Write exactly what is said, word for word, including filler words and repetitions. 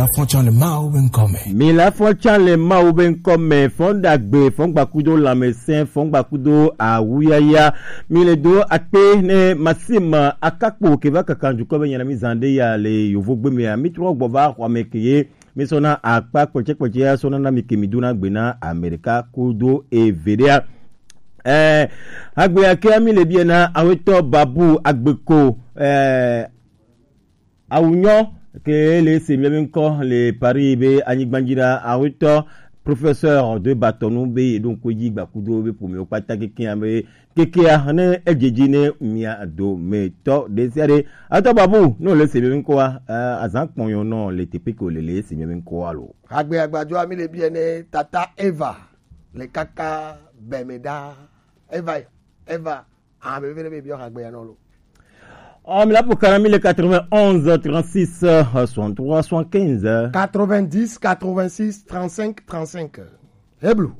Afɔtsan le Mawu be ŋkɔ me. Mi le afɔtsan le Mawu be ŋkɔ me. Fɔn ɖagbe, fɔn gbakudo lãmesẽ, fɔn gbakudo awuyaya. Mi le do akpe ne masima akakpo ke va kaka dukɔ be nyana mi zan ɖe ya le yovogbe mea. Mi trɔ gbɔ va xɔa me ke ye. Mi sɔna akpa kpɔtsɛkpɔtsɛ ya sɔna na mi ke mi dona gbe na Amerika kudo eveɖea. Eh, agbe ya ke mi le biɛ na awetɔ Babu Agbeko, eh, Awunyɔ ke le se miabe ŋkɔ le Paris be anyigba dzi ɖa awetɔ professeur de batɔnu be yeɖo ŋku dzi gbakudo be ƒomewo kpata kekea be kekea ne edzedzi ne mia dometɔ ɖe sia ɖe. Awetɔ Babu, ne wòle se miabe ŋkɔa, eh, azã kpɔnyɔ nɔ le teƒe ke wòle le se miabe ŋkɔa lo. Hagbe agbadzɔa mi le biɛ ne tata Eva le kaka bɛme ɖa. Eva, Eva, ah, bebe ne be biɔ hagbe ya nɔ lo. Oh, mi la pour kana mi le quatre-vingt-onze, trente-six, soixante-trois, soixante-quinze. Quatre-vingt-dix, quatre-vingt-six, trente-cinq, trente-cinq. Heblu.